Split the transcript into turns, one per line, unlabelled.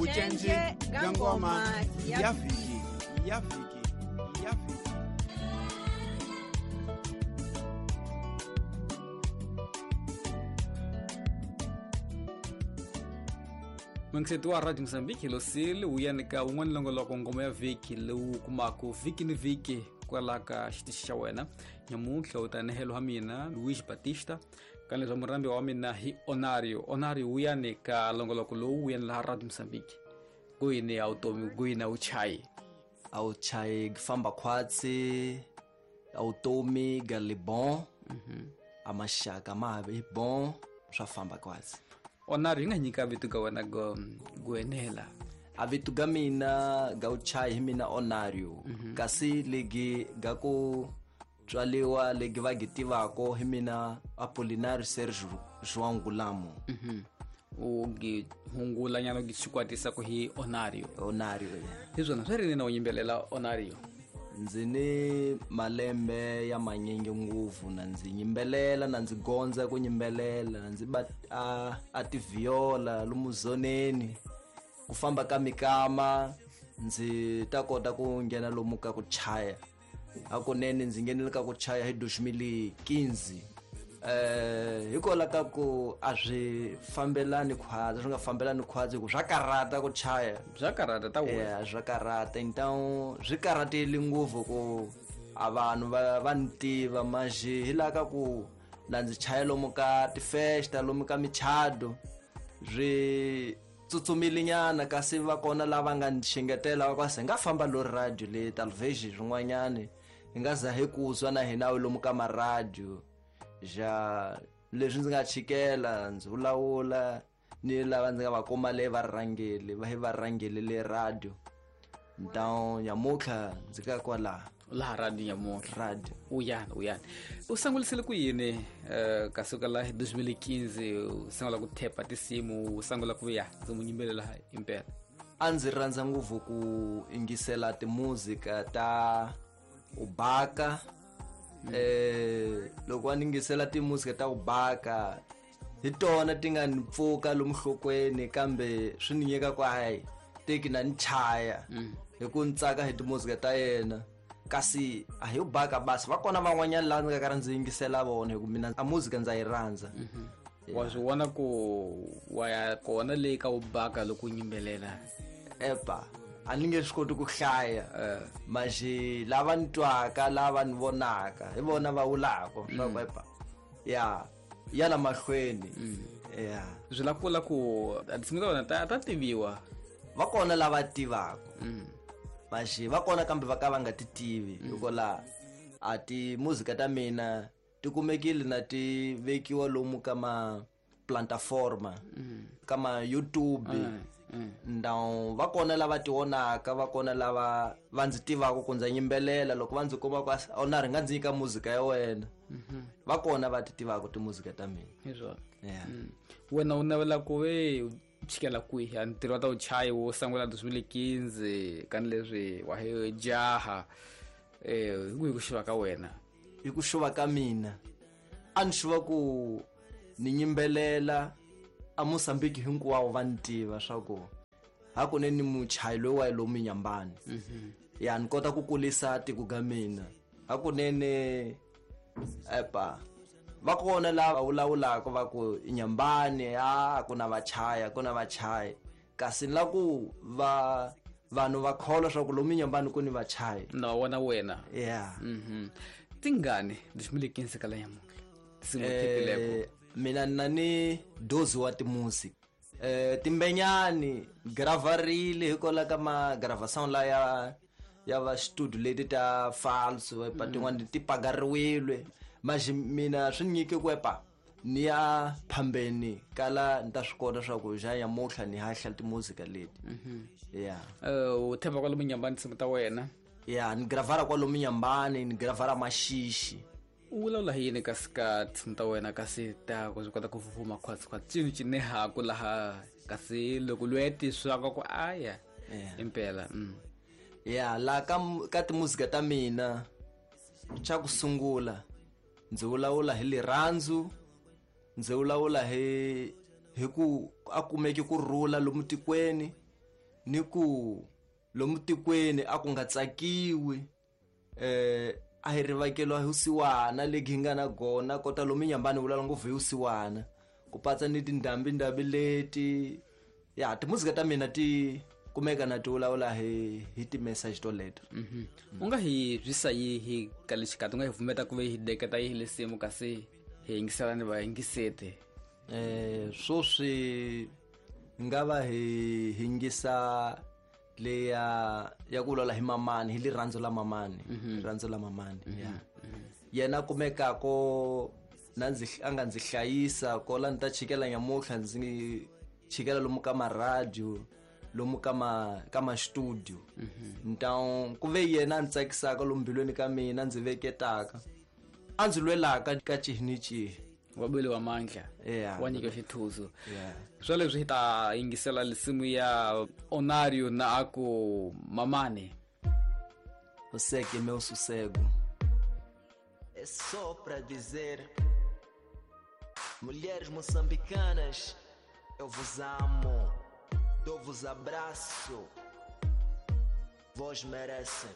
Vucenje bya ngoma ya vhiki ya vhiki ya vhiki.
Mungiseti wa Radio Mozambique hi losile wu yanika wun'wana longoloko ngoma ya vhiki lowu kumaka vhiki ni vhiki kwala ka xitichi xa wena. Nyamuntlha u ta nehelo wa mina Luis Batista ka leswa murambi wa mina hi Onario. Onario wu yanika longoloko lowu wu yani laha Radio Mozambique. Kuyini ya utomi, kuyini a wu chayi?
A wu chayi famba khwatsi, a wutomi ga le bon, a maxaka ma ha vi bon, swa famba khwatsi.
Onario, hi nga nyika vito ka wena go enela?
A vito ga mina ga wu chayi hi mina Onario. Kasi legi ga ku tswaliwa legi va gi tivako hi mina Apolinario Sergio João Gulamo.
U gi hungula nyana u gi xikwatisa ku hi Onario.
Onario, yeah.
Hi swona swi ri na u yimbelela Onario?
Ndzi ni malembe ya manyingi ngopfu na ndzi yimbelela, na ndzi gondza ku yimbelela, na ndzi ba a tiviola lomu zoneni. Ku famba ka mikama ndzi ta kota ku nghena lomu ka ku chaya. Hakunene ndzi nghenile ka ku chaya hi 2015. Hikwalaho ka ku a swi fambelani khwatsi, swi nga fambelani khwatsi hi ku swa karhata ku chaya.
Swa karhata ta wena.
Yeah, swa karhata. Então swi karhatile ngopfu ku a vanhu va ni tiva manjhe hi laha ka ku na ndzi chaya lomu ka tifesta, lomu ka michado, swi tsutsumile nyana kasi va kona lava nga ni xengetela va ku se nga famba lo radio le television swin'wanyani hi nga za hi ku zwa na hina lomu ka maradio. Ja leswi ndzi nga chikela ndzi vulavula ni lava ndzi nga va kuma le va rhangeli, va hi va rhangeli le radio. Então nyamuntlha ndzi ka kwalaha.
Laha radio nyamuntlha.
Radio.
Uyani, uyani. U sangulisile ku yini, ka suka la 2015 u sungula ku thepa tinsimu, u sungula ku ya ndzi mu yimbelela impela?
A ndzi rhandza ngopfu ku yingisela timuzika ta Ubaka. Loko a ni yingisela timuzika ta Ubaka hi tona ti nga ni pfuka lomu nhlokweni, kambe swi ni nyika ku hayi teki na ni chaya hi ku ni tsaka hi timuzika ta yena. Kasi a hi Ubaka basi, va kona van'wanyana laha ndzi nga karhi ndzi yingisela vona hi ku mina a muzika ndza yi rhandza.
Wa swi vona ku wa ya kona leyi ka Ubaka loko u yimbelela?
Epa, a ni nge swi koti ku hlaya. Manjhe lava ni twaka, lava ni vonaka, hi vona va vulaka swa ku epa, ya, ya la mahlweni. Ya.
Swi lava ku vula ku a tinsimu ta wena ta tiviwa?
Va kona lava tivaka. Manjhe va kona kambe va ka va nga ti tivi. Hikokwalaho a ti muzika ta mina ti kumekile na ti vekiwa lomu ka ma plataforma, ka ma YouTube. Então va kona lava ti vonaka, va kona lava va ndzi tivaka ku ndza yimbelela, loko va ndzi kuma ku a ri nga ndzi nyika muzika ya wena. Va kona va ti tivaka timuzika ta mina.
Hi swona.
Yeah.
Wena u navela ku ve u chikela kwihi? A ntirho wa ta vuchayi wo sungula 2015 ka ni leswi wa hi jaha. Hi kwihi ku xuva ka wena?
Hi ku xuva ka mina, a ni xuva ku ni yimbelela a Mozambique hinkwawo va ni tiva swa ku hakunene ni muchayi loyi wa lomu Nyambani. Ya ni kota ku kulisa tiko ga mina. Hakunene epa va kona lava vulavulaka va ku Nyambani, a ku na vachaya, ku na vachayi. Kasi ni la ku va vanhu va kholwa swa ku lomu Nyambani ku ni vachayi.
Na wona wena.
Yeah.
Tingani 2015 ka la nyamuntlha? Tinsimu thepileko.
Mina na ni dozi wa timusic. Timbenyani gravarile hikwalaho ka ma gravação la ya va studio leti ta falso, epa tin'wani ti pagariwile. Manjhe mina swi nyike ku epa ni ya phambeni kala ni ta swi kota swa ku ja nyamuntlha ni hahla timuzika leti. Yeah.
U themba kwalomu Nyambani tinsimu ta wena?
Yeah, ni gravara kwalomu Nyambani, ni gravara Maxixi.
U vulavula hi yini kasi ka tinsimu ta wena kasi ta ku swi kota ku fufuma khwatsi khwatsi cini cinehaku laha kasi loko loyi a tiswaka ku aya impela.
Yeah, laha ka timuzika ta mina xa ku sungula ndzi vulavula hi lirhandzu, ndzi vulavula hi ku a kumeki ku rhula lomu tikweni. Ni ku lomu tikweni a ku nga tsakiwi a hi rivakeliwa hi vusiwana legi hi nga na gona kota lomu nyambani vulavula ngopfu hi vusiwana ku patsa ni tindhambi-ndhambi leti ya timuzika ta mina ti kumeka na ti vulavula hi ti-message toleto.
U nga hi byisa yihi ka le xikarhi, u nga hi pfumeta ku ve hi deketa yihi lesimu kasi hi yingisela ni vayingiseti?
Swoswi nga va hi yingisa leya ya ku vulavula hi mamani, hi rirhandzu la mamani, rirhandzu la mamani, ya. Yena kumekako na ndzi a nga ndzi hlayisa kola ni ta chikela nyamutlha ndzi chikela lomu ka maradio lomu ka ma ka ma studio. Então ku ve yena a ndzi tsakisaka lomu mbilwini ka mina ndzi veketaka a ndzi lwelaka ka cihi ni cihi.
Wa bele wa mandla. Wa nyika xithuzo. Swa leswi hi ta yingisela lisimu ya Onario na aku Mamane.
Você que é meu sossego. É só pra dizer, mulheres moçambicanas, eu vos amo, dou-vos abraço, vós merecem.